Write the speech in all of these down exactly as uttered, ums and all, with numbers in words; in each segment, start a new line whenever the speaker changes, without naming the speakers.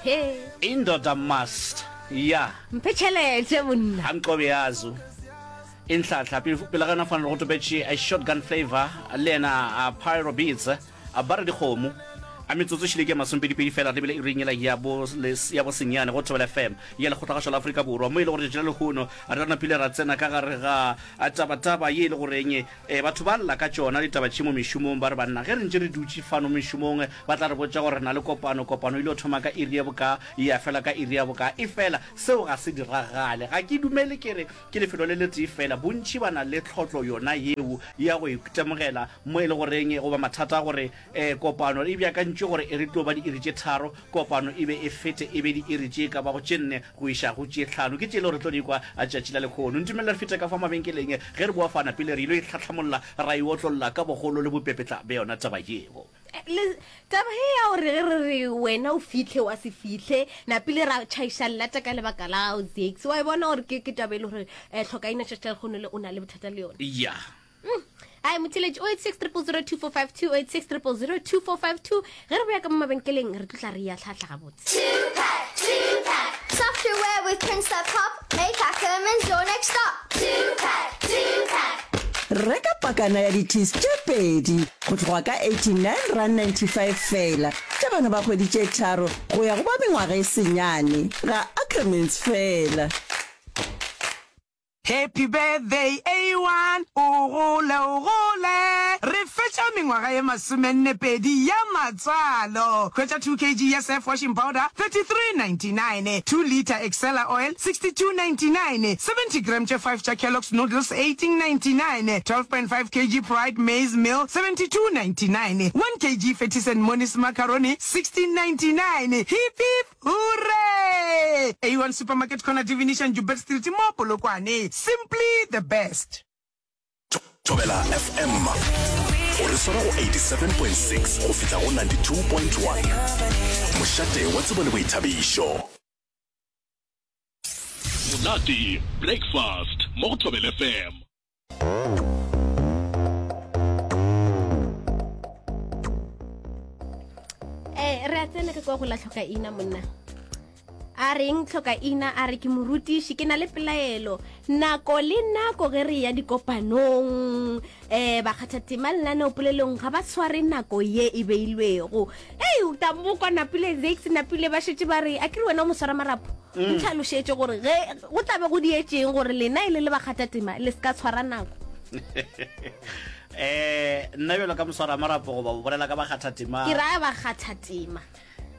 He.
Indoda must ya.
Mphe tšhelete monna.
Amqobe yazo. Inhlahla pele ga yona fano go topetše a shotgun flavor le yena a Pyro Beats a ba re dikgomo a metsotso šile ke masomepedipedi fela re bile iring yela ya bo ya bo senyane go Thobela F M ya Lekgotlagašo la Afrika Borwa mo e le gore tšatši la lehono re napile ra tsena ka gare ga tabataba ye e le goreng E, batho ba lla ka tšona ditaba tše mo mešomong, ba re, Banna, ge re ntše re dutše fano mešomong, ba tla re botša gore re na le kopano. Kopano e ile thoma ka iri ya bokaa, ya fela ka iri ya bokaa. Efela seo ga se diragale. Ga ke dumele ke re ke lefelo le letee feela. Bontši ba na le tlhotlo yona yeo ya go itemogela mo e le goreng, goba mathata a gore E, kopano e beakantšwe gore e re tlo ba diiri tše tharo, kopano e be e fete e be diiri tše e ka bago tše nne go iša go tše hlano. Ke tše e le gore re tlo di kwa tšatši la lekhono. Ntumelele re fete ka fa mabenkeleng ge re boa fana pele re ilo e hlahlamolla ra e otlolla ka bogolo le bopepetla bja yona taba yeo.
Le, taba ye ya gore ge re re wena o fihle wa se fihle, napile ra tšhaiša llata ka lebaka la gago, Zakes. Wa e bona gore ke, ke taba e le gore eh, tlhokaina tšatši la lekhono le o na le bothata le yona.
Ya.
Mm. Ai motheletši oh eight six triple zero two four five two oh eight six triple zero two four five two ge re boya ka mo mabenkeleng re tlo tla re ya tlhahla gabotse.
Two pack, two pack. Software with prints that pop, make Ackermans your next stop. Two pack, two pack.
Reka pakana ya di-teas tše pedi go tloga ka eighty-nine rand ninety-five feela tša bana ba kgwedi tše tharo go ya go ba mengwaga e senyane ga Ackermans feela.
Happy birthday A one, o gole o gole. Re fetša mengwaga ye masomenne pedi ya matswalo. Hwetša two kg ya Surf washing powder, thirty three ninety nine, two litre Excella oil, sixty two ninety nine, seventy gram tše five tša Kellogg's noodles, eighteen ninety nine, twelve point five kg Pride maize meal, seventy two ninety nine, one kg Fettis and Moni's macaroni, sixteen ninety nine. Hip hip Hooray! A one Supermarket Corner Divination Joubert Street mo Polokwane. Simply the best.
Thobela F M o re swara go eighty-seven point six go fihla go ninety-two point one. Mošate wa tsebo le boithabišo.
Monate Breakfast mo go Thobela F M.
Eh, re a tsena ka kwa go la tlhoka ina monna a reng tlhoka ina a re ke morutiši ke na le pelaelo nako le nako ge re ya dikopanong um bakgathatema lenaneopolelong ga ba tshware nako ye e beilwego ei tamokwa napile zex napile ba šetše ba re a ke re wena o mo swara marapo mm. ntlhalošetše gore ge go tlabe go dietšeng gore lena e le le bakgathatema le se ka tshwara nako.
Eh, nna bjalo ka moswara marapo goba o bolela ka bakgathatema?
Ke raya bakgathatema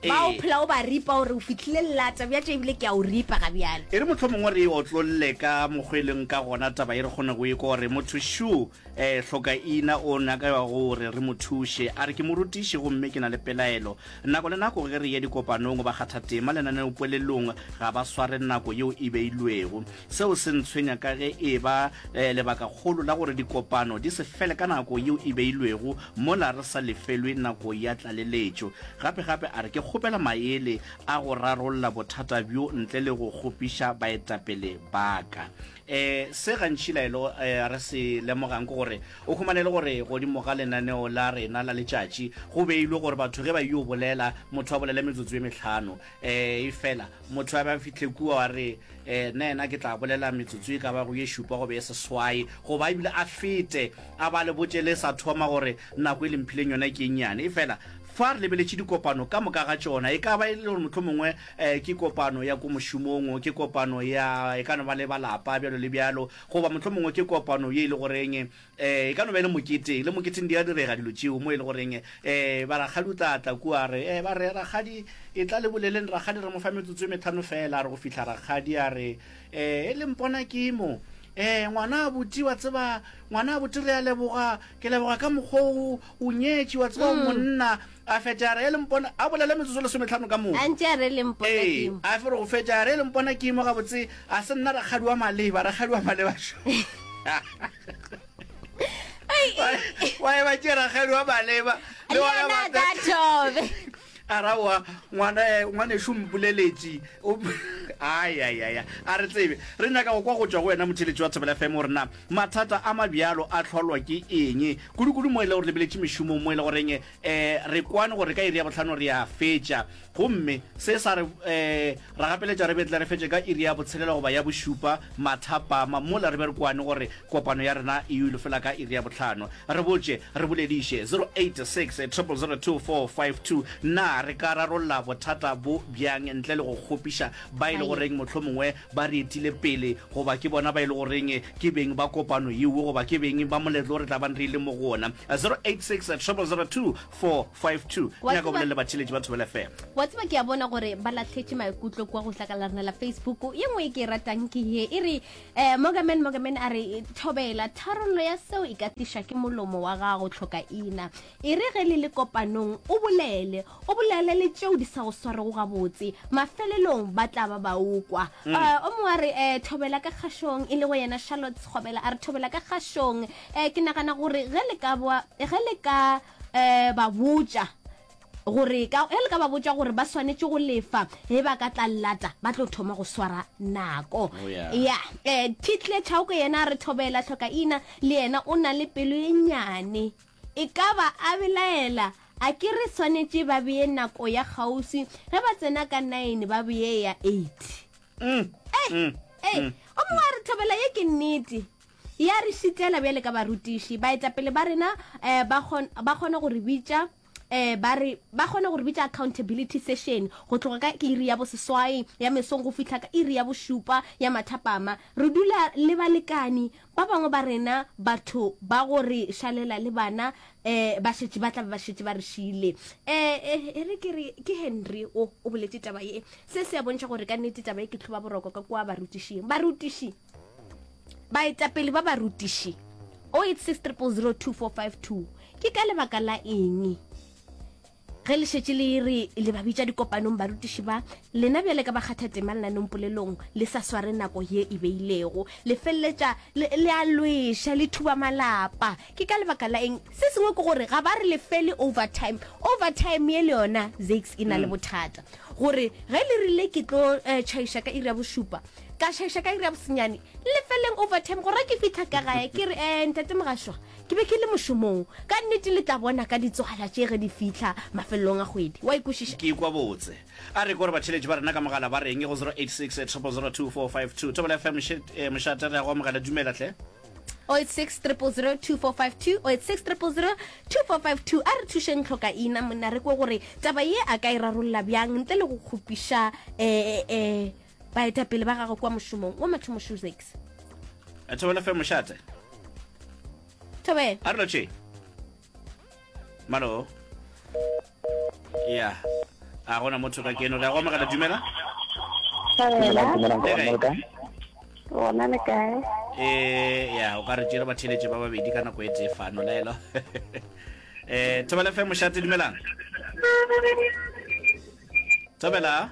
ba o phela o ba ripa gore o fihlile lelata bja tše ebile ke a o ripa ga bjale.
E re mohlomongwe re e otlolle ka mokgwa e leng ka gona taba e re kgone go e kwa gore motho šo um hlokaina o nyaka gore re mo thuše. A re ke morutiši gomme ke na le pelaelo. Nako le nako ge re eya dikopanong, bakgathatema lenaneopolelong ga ba sware nako yeo e beilwego. Seo se ntshwenya ka ge e eba lebakakgolo la gore dikopano di se fele ka nako yeo e beilwego mola re sa lefelwe nako ya tlaleletšo. Gape-gape a re ke kgopela maele a go rarolla bothata bjo ntle le go kgopiša baetapele ba ka. E, se gantši laelo e, re se lemogang ke gore o humane e le gore godimo ga lenaneo la rena la letšatši go beilwe gore batho ge ba yo bolela, motho a bolele metsotso e mehlano. E, efela motho a be a fihle kua wa re, e, nna yena ke tla bolela metsotso e ka bago ye šupa goba ye seswai, goba ebile a fete a ba le botše le sa thoma gore nako e le mphileng yona ke e nnyane. Efela fa re lebeletše dikopano ka moka ga tšona, e ka ba e le gore mohlomongwe um ke kopano ya ko mošomong, ke kopano ya e ka no ba le ba lapa bjalo le bjalo, goba mohlomongwe ke kopano ye e le goreng um e ka no ba e le moketeng, le moketeng di a direga dilo tšeo mo e le goreng um ba rakgadi o tla tla kua a re, um ba re rakgadi e tla le boleleng, rakgadi re mo fa metsotso e metlhano fela, a re go fihla rakgadi a re um e le mpona ke mo um ngwana abuti wa tseba, ngwana abuti re a leboga, ke leboga ka mokgwa o o nyetše wa tseba o monna. A fetša a re, E le mpona, a bolele metsotso lesometlhano ka moka.
A ntše a re, Le mpona
Ee,
ke mo.
a fe re go fetša a re, E le mpona ke mo gabotse, a se nna rakgadi wa maleba, rakgadi wa maleba šo. Wa e ba tše rakgadi wa maleba.
Le
gona
yena
ba
a ka thobe.
A ra wa, ngwana, ngwanešu o mpoleletše, o, Ayayaya, a re tsebe. Re nyaka go kwa go tšwa go wena motheeletši wa Thobela F M gore na mathata a mabjalo a hlolwa ke eng, kudu-kudu mo e le gore lebeletše mešomong mo e le goreng um re kwane gore ka iri ya bohlano re a fetša, gomme se sa re um ra gapeletša re betle re fetše ka iri ya botshelela goba ya bošupa mathapama, mola re be re kwane gore kopano ya rena e yo fela ka iri ya bohlano. Re botše, re bolediše, zero eight six triple zero two four five two, na re ka rarolla bothata bo bjang ntle le go kgopiša ba e le goreng mohlomongwe ba re etile pele, goba ke bona ba e le goreng ke beng ba kopano yeo, goba ke beng ba moletlo o re tla bang re ile mo go ona. Zero eight six triple zero two four five two.
Wa
Nyaka go
tseba
bolela le batheeletši ba Thobela F M.
Wa tseba ke a bona gore ba lahletše maikutlo kua go hlaka la rena la Facebook. Ye nngwe e ke e ratang ke ye e re, eh, Morgaman, Morgaman a re, Thobela, tharollo ya seo e ka tlišwa ke molomo wa gago, tlhokaina. E re ge le le kopanong o bolele, o bolele le tšeo di sa go swarego gabotse, mafelelong ba tla ba ba o kwa.
Mm.
Eh, o mongwe a re, eh, Thobela ka kgašong, e lego yena Charlotte Sekgobela a re, Thobela ka kgašong. Eh, ke nagana gore ge le ka boa, ge le ka, eh, ba botša gore ka, ge le ka ba botša gore ba swanetše go lefa ge ba ka tla llata, ba tlo thoma go swara nako.
Oh, yeah.
Ya, eh, Title Chauke yena a re, Thobela tlhokaina le yena o na le pelo ye nnyane, e ka ba a belaela, a ke re swanetše ba bee nako ya kgauswi, ge ba tsena ka nine ba bee ya eight.
Mm.
Ei,
Mm.
ei,
Mm.
o mongwe a re, Thobela ye ke nnete, ya re šitela bjale ka barutiši, baetapele ba rena, eh, ba kgon-, ba kgona go re bitša, eh, ba re, ba kgona go re bitša accountability session go tloga ka iri ya boseswai ya mesong go fihla ka iri ya bošupa ya mathapama. Re dula le balekani ba bangwe ba rena, batho ba go re šalela le bana, eh, ba šetše ba tla be ba šetše ba re šile. Eh, eh, e re ke re ke Henry o, o boletše taba ye. Se se a bontšha gore ka nnete taba ye ke tlhoba boroko ka kua barutišing. Barutiši, baetapele ba barutiši, oh eight six triple zero two four five two, ke ka lebaka la eng ge le šetše le re le ba bitša dikopanong barutiši ba lena bjale ka bakgathatema lenaneng polelong le sa sware nako ye e beilego, le feleletša le, le a lweša, le thuba malapa? Ke ka lebaka la eng? Se sengwe ke gore ga ba re lefele overtime. Overtime ye le yona Zakes e na le bothata, gore ge le rile ke tlo, eh, tšhaiša ka iri ya bošupa, ka tšhaiša ka iri ya bosenyane, lefeleng overtime gore ke fihla ka gae ke re, eh, ntate Mogašwa, ke be ke le mošomong. Ka nnete le tla bona ka ditswala tše ge di fihla mafelelong a kgwedi. Wa ikwešiša?
Ke ikwa botse. A re kore batheeletši ba rena ka mogala ba reng go zero eight six triple zero two four five two. Thobela F M, moše-, eh, mošate, re ya go amogela. Dumela hle.
oh eight six triple zero two four five two, oh eight six triple zero two four five two. A re thušeng tlhokaina monna, re kwe gore taba ye a ka e rarolla bjang ntle le go kgopiša, eh, eh, baetapele ba gagwe kwa mošomong wa mathomo Shoesex.
Eh, Thobela F M, mošate.
Thobela.
A re lotšhe. Malo. Ya. A gona motho ka keno, re ya go amogela. Dumela.
Dumela, dumela,
Le kae?
Gona le kae?
Eh, ya, o ka re tšere batheeletši ba babedi ka nako e tee fano, laelo. Eh, Thobela F M, mošate, dumelang. Thobela.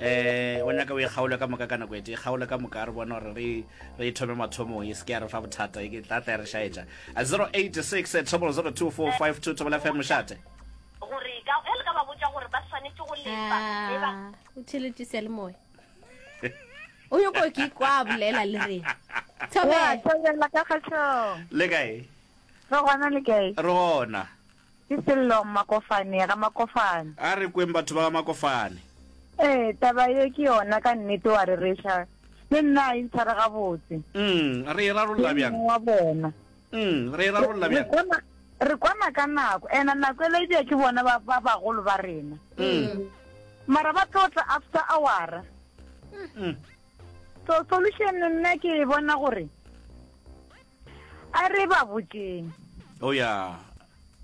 Eh, o nyaka o e kgaole ka moka ka nako e tee, kgaole ka moka, re bone gore re, re e thome mathomong, e se ke ya re fa bothata, e ke tla tla ya re šaetša. Zero eight six triple zero two four five two, Thobela F M, mošate.
Gore ka, ge le ka ba botša gore ba swanetše go lefa, ge ba Ah, o theeletše seyalemoya. O nyoko ke kwa a bolela le rena. Thobela.
Ya, Thobela ka kgahlong.
Le kae?
Re gona, le kae?
Re gona.
Ke Sello Makofane, ga Makofane.
A re kweng batho ba ga Makofane.
Ee, taba ye ke yona ka nnete wa rereša. Le nna a e ntshware gabotse.
Mm, re e rarolla
Ke
bjang?
mongwe wa bona.
Mm, re e rarolla
Re
bjang?
kwana, re kwana ka nako. Ena nako ela e bea ke bona ba, ba bagolo ba rena.
Mm.
Mara ba tlo tla after hour.
Mm.
So solution nna ke e bona gore a re ba botšeng.
Oh yeah.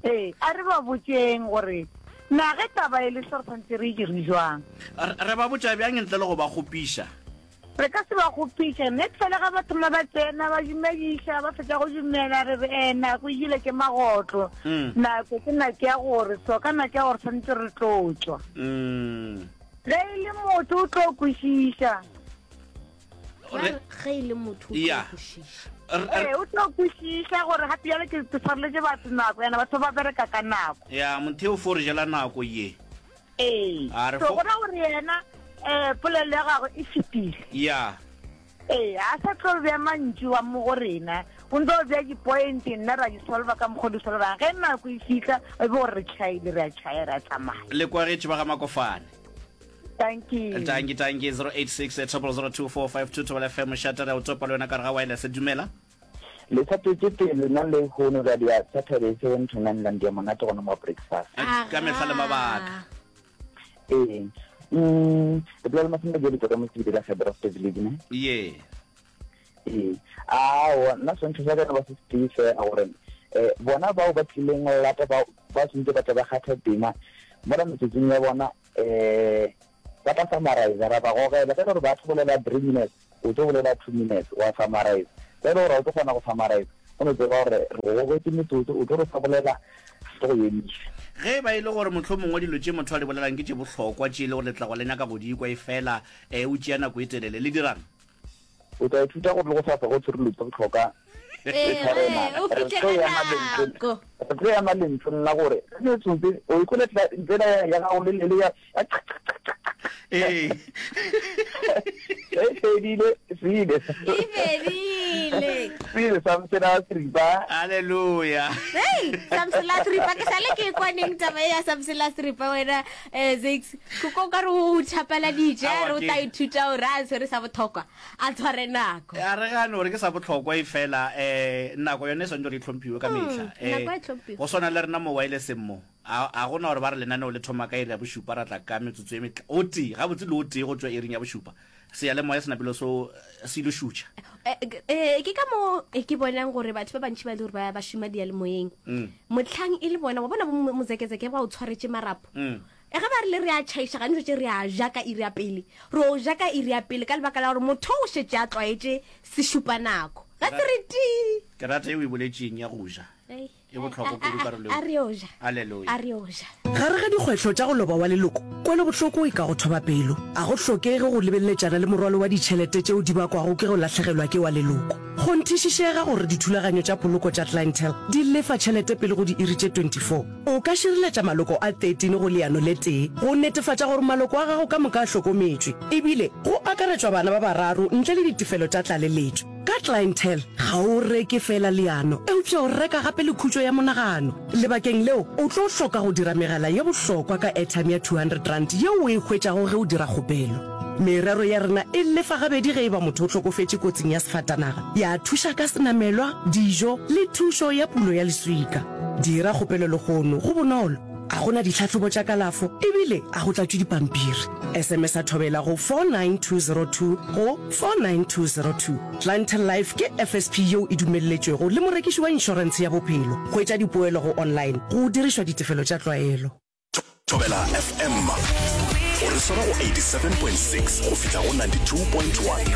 Ee, a re ba botšeng gore na ge taba e le so re tshwanetse re e dire jwang.
Re, re ba botša bjang ntle le go ba kgopiša?
Re ka se ba kgopiše. Net fela ga ba thoma ba tsena, ba dumediša, ba fetša go dumela, re re, eh, nako e ile ke magotlo.
Mm.
Nako ke nako ya gore so, ka nako ya gore tshwanetse re tlo tšwa.
Mm.
Ge e le motho o tlo kwešiša.
Re-
Ge e le motho o tlo
Ya.
kwešiša.
Re- re-
Ee, o tlo kwešiša gore gape bjale ke, ke tshwareletše batho nako, ena batho ba bereka ka nako.
Ya, motheo fo re jela nako ye.
Ee.
A re
So
fo-
go ra gore yena um polelo ya gagwe e fetile.
Ya.
Ee, a sa tlo bea mantšu wa mo go rena, o ntse o bea di-point, nna ra di solva ka mokgwa o di solvang. Ge nako e fihla, e be gore re tšhaile, re a tšhaya, re a tsamaya.
Le kwagetše ba ga Makofane.
Dankie.
Dankie, dankie. zero eight six, triple zero two four five two, Thobela F M, mošate, re a o topa le wena ka gare ga wireless. Dumela.
Le sa tšwetše pele nna le hono ka dia Saturday seven to nine la ndia monate gona mo breakfast.
Ka mehla le mabaka.
Ee. Mm, le bolela le Masome Jele ka mo Sebidi ka Gebrofte village ne.
Ye.
Ee. Aowa, nna swantšho sa ka ba se setee fela gore eh bona bao ba tlileng lata ba ba sentse ba tla ba kgatha tema mola metsotsong ya bona eh ba tla summarize ra ba gogela ka gore ba tlo bolela three minutes o tlo bolela two minutes wa summarize ge e le gore ga o tlo kgona go summarize o no tseba gore re go gogetše metsotso o tlo re sa bolela re go emiša.
Ge e ba e le gore mohlomongwe dilo tše motho a di bolelang ke tše bohlokwa tše e le gore le tlago le nyaka go di kwa efela o tšea nako e telele, le dira'ng?
O tla ithuta gore le go sasa go tshwere dilo tše bohlokwa
Ee,
le tshwarena.
o
Re
fihle
tlo
ka
ema lentswe,
nako.
re tlo ema lentsweng la gore ge metsotso o ikwele tsela ya gago le le ya
Ee.
Ge e fedile, se ile.
E fedile.
Se ile sa msela seripa.
Haleluya.
Hei, Samsela seripa ke sale ke kwa neng taba ya Samsela seripa wena eh Zakes. Ko ko ka re o thapaladitše
Aowa,
re o
ke-
tla ithuta gore a tshwere sa bohlokwa a tshware nako.
A re gane gore ke sa bohlokwa e fela eh nako yone e swanetše gore e hlomphiwe ka mehla.
Mm, nako e hlomphiwe.
Go swana le rena mo wirelesseng mo. A, a gona gore ba re lenaneo le thoma ka iri ya bošupa ra tla ka metsotso e metla, o tee, gabotse le o tee go tšwa iring ya bošupa. Seyalemoya se napile so, se ilo šutša.
Eh, eh, ke ka mo eh, ke bonang gore batho ba bantši ba e le gore ba, ba šoma diyalemoyeng.
Mm.
Mohlang e le bona, wa bona bo mo-, mozekezeke ba o tshwaretše marapo.
Mm.
E ge ba rile re a tšhaiša, gantši tše re a ja ka iri ya pele. Re o ja ka iri ya pele ka lebaka la gore motho o šetše a tlwaetše sešupanako. Ga se re tii.
Ke rata yeo o e boletšeng ya go ja.
Ei.
E bohlokwa kudu karolo
A re yo ja.
Haleluya.
A re yo ja.
Gare ga dikgwehlo tša go loba wa leloko, kwelobohloko e ka go thoba pelo. A go hlokege go lebeletšana le morwalo wa ditšhelete tšeo di bakwago ke go lahlegelwa ke wa leloko. Kgonthišišega gore dithulaganyo tša poloko tša Clientele di lefa tšhelete pele go diiri tše twenty-four. O ka šireletša maloko a thirteen go leano le tee go netefatša gore maloko a gago ka moka a hlokometšwe, ebile go akaretšwa bana ba bararo ntle le ditefelo tša tlaleletšo. Ka Clientele, ga o reke feela leano, eupša o reka gape le khutšo ya monagano. Lebakeng leo, o tlo hloka go dira megala ye bohlokwa ka airtime ya two hundred rand yeo o e hwetšago ge o dira kgopelo. Merero ya rena e lefa gabedi ge e ba motho o hlokofetše kotsing ya sefatanaga, ya thuša ka senamelwa, dijo le thušo ya pulo ya leswika. Dira kgopelo lehono, go bonolo, ga go na ditlhahlobo tša kalafo ebile ga go tlatšwe dipampiri. S M S a thobela go four nine two zero two go four nine two zero two. Clientele Life ke F S P yeo e dumelletšwego le morekiši wa inšorentshe ya bophelo. Hwetša dipoelo go online go dirišwa ditefelo tša tlwaelo.
Thobela F M o re swara go eighty-seven point six go fihla go ninety-two point one.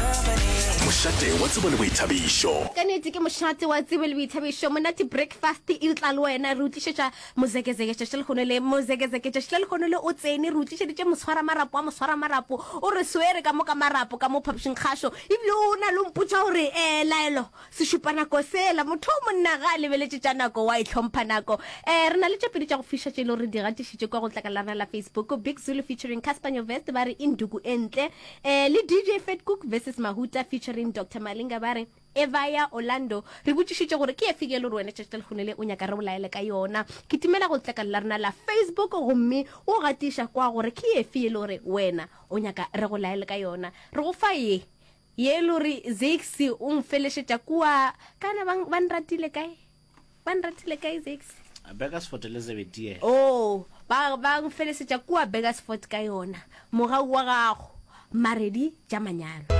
Mošate wa tsebo le boithabišo.
Ka nnete ke mošate wa tsebo le boithabišo. Monate breakfast e tla le wena. Re o tlišetša mozekezeke tšatši lehono le. Mozekezeke tšatši la lehono le o tsene. Re o tlišeditše moswara marapo wa moswara marapo. O re swere ka mo ka marapo ka mo phapošing kgašo. Ebile o na le mpotša gore, eh, laelo sešupanako sela. Motho o monna ga a lebeletše tša nako, wa e hlompha nako. Eh, re na le tše pedi tša go fiša tše e le gore di gatišitše kwa go tlakala la rena la Facebook. Big Zulu featuring Cassper Nyovest ba re Induku Entle. Eh, le D J Fatcook versus Mahuta featuring Doctor Malinga ba re Evaya Orlando. Re botšišitše gore ke efe ke e le gore wena tšatši la lehono le o nyaka re bolaele ka yona. Ke timela go tlakala la rena la Facebook gomme o gatiša kwa gore ke efe e le gore wena o nyaka re go laele ka yona. Re go fa ye ye e le gore Zakes o mfelešetša kua kana ba, ba nratile kae? Ba nratile kae Zakes?
Burgersfort Elizabeth ye.
Oh, ba, ba mfelesetša kua Burgersfort ka yona. Mogau wa gago, Maredi tša manyalo.